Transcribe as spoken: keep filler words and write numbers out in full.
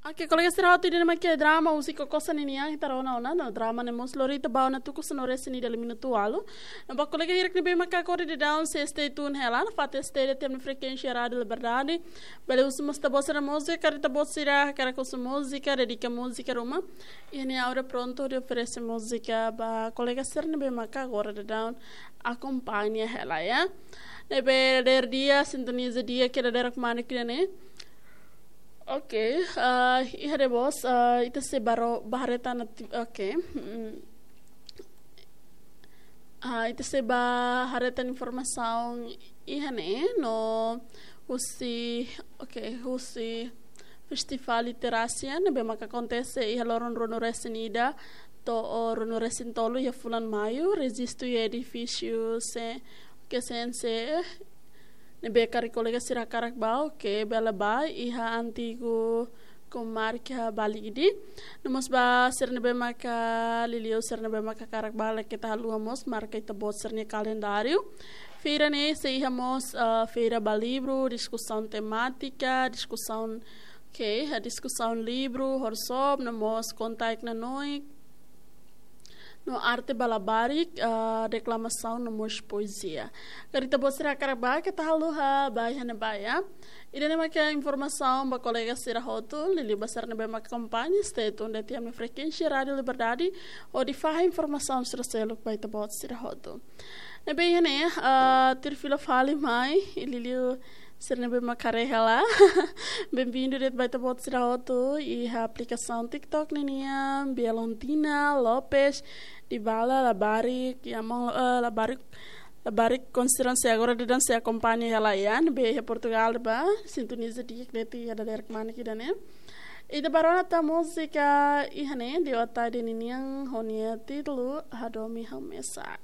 Oke, kolega sira hotu, ida-ne'e mak drama Husi Kokosa ninian ita rona ona, no drama ne'e mós lori ita ba ona tuku sanulu-resin-ida liu minutu ualu. No ba kolega hirak ne'ebé maka agora daudaun sei stay tune hela, no fatin stay de'it iha frekuénsia Rádiu Liberdade. Bele husu mós ita-boot sira múzika, karik ita-boot sira hakarak husu múzika, dedika múzika ruma. Iha ne'e Aura prontu hodi oferese múzika ba kolega sira ne'ebé maka agora daudaun akompaña hela, ya. Ne'ebé dadeer di'ak, sintoniza di'ak, ke dadeer kemana kira ne'e. Oke, eh, iha de bos, eh, ita sei ba haree tan ati-, oke. Mm. Ah, ita sei ba haree tan informasaun iha ne'e, no husi, oke, husi Festivál Literasi ne'ebé maka akontese iha loron ruanulu-resin-ida to'o ruanulu-resin-tolu iha fulan Maiu, rejistu iha edifísiu se, ke C N C, ne'ebé karik kolega sira hakarak bá, oke, bele bá iha antigu Komarka Balide. No mós ba sira ne'ebé maka liuliu, sira ne'ebé maka hakarak bá, la keta haluha mós marka ita-boot sira-nia kalendáriu. Feira ne'e sei iha mós, ah, feira ba livru, diskusaun temátika, diskusaun, oke, ah, diskusaun livru, workshop, no mós konta-nanoin, no arte ba labarik, ah, deklamasaun no mós poezia. Karik ita-boot sira hakarak bá, keta haluha bá iha ne'ebá, ya. Ida-ne'e mak informasaun ba kolega sira hotu, liuliu ba sira ne'ebé mak akompaña, stay tune de'it iha frekuénsia Rádiu Liberdade, hodi fahe informasaun sira seluk ba ita-boot sira hotu. Ne'ebé iha ne'e, ah, tuir fila fali mai, liuliu sira ne'ebé mak haree hela. Benvindu de'it ba ita-boot sira hotu iha aplikasaun TikTok ninian, Bialontina Lopes Dibala, labarik, ya, maun, eh, labarik, labarik konsiderasi agora daudaun sei akompaña hela, ya, ne'ebé iha Portugal bá, sintoniza di'ak de'it iha dadeer kemana kira ne'e. Ita bá rona tan múzika iha ne'e, Diotar ninian ho nia títulu Hadomi Ha'u Mesak.